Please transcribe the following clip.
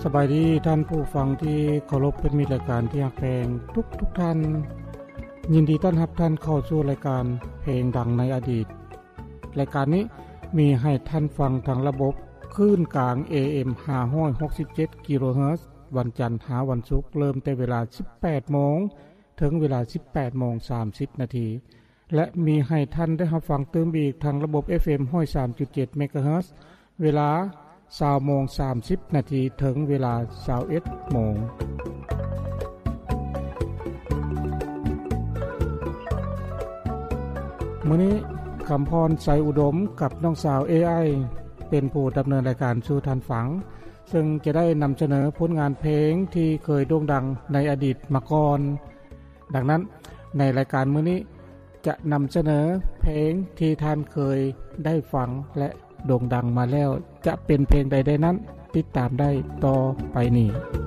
ສະບາຍດີທ່ານຜູ້ຟັງທີ່ເຄົາລົບ ເປັນມິດ ລາຍການທີ່ຮັກແພງທຸກໆທ່ານ. ຍິນດີຕ້ອນຮັບທ່ານເຂົ້າສູ່ລາຍການເພງດັງໃນອະດີດ. ລາຍການນີ້ມີໃຫ້ທ່ານຟັງທາງລະບົບຄື້ນກາງ ເອເອັມ ຫ້າຮ້ອຍຫົກສິບເຈັດກິໂລເຮີດ ວັນຈັນຫາວັນສຸກ ເລີ່ມແຕ່ເວລາ ສິບແປດໂມງ ເຖິງເວລາ ສິບແປດໂມງ ສາມສິບນາທີ ແລະ ມີໃຫ້ທ່ານໄດ້ຮັບຟັງຕື່ມອີກທາງລະບົບ ເອັຟເອັມ ຮ້ອຍສາມຈຸດເຈັດເມກາເຮີດ ເວລາ ຊາວໂມງ ສາມສິບນາທີ ເຖິງເວລາ ຊາວເອັດໂມງ. ມື້ນີ້ ຄຳພອນ ໄຊອຸດົມ ກັບນ້ອງສາວ ເອໄອ ເປັນຜູ້ດຳເນີນລາຍການສູ່ທ່ານຟັງ, ເຊິ່ງຈະໄດ້ນຳສະເໜີຜົນງານເພງທີ່ເຄີຍໂດ່ງດັງໃນອະດີດມາກ່ອນ. ດັ່ງນັ້ນ, ໃນລາຍການມື້ນີ້ ຈະນຳສະເໜີເພງທີ່ທ່ານເຄີຍໄດ້ຟັງ ແລະ ໂດ່ງດັງມາແລ້ວ ຈະເປັນເພງໃດໆນັ້ນ ຕິດຕາມໄດ້ຕໍ່ໄປນີ້.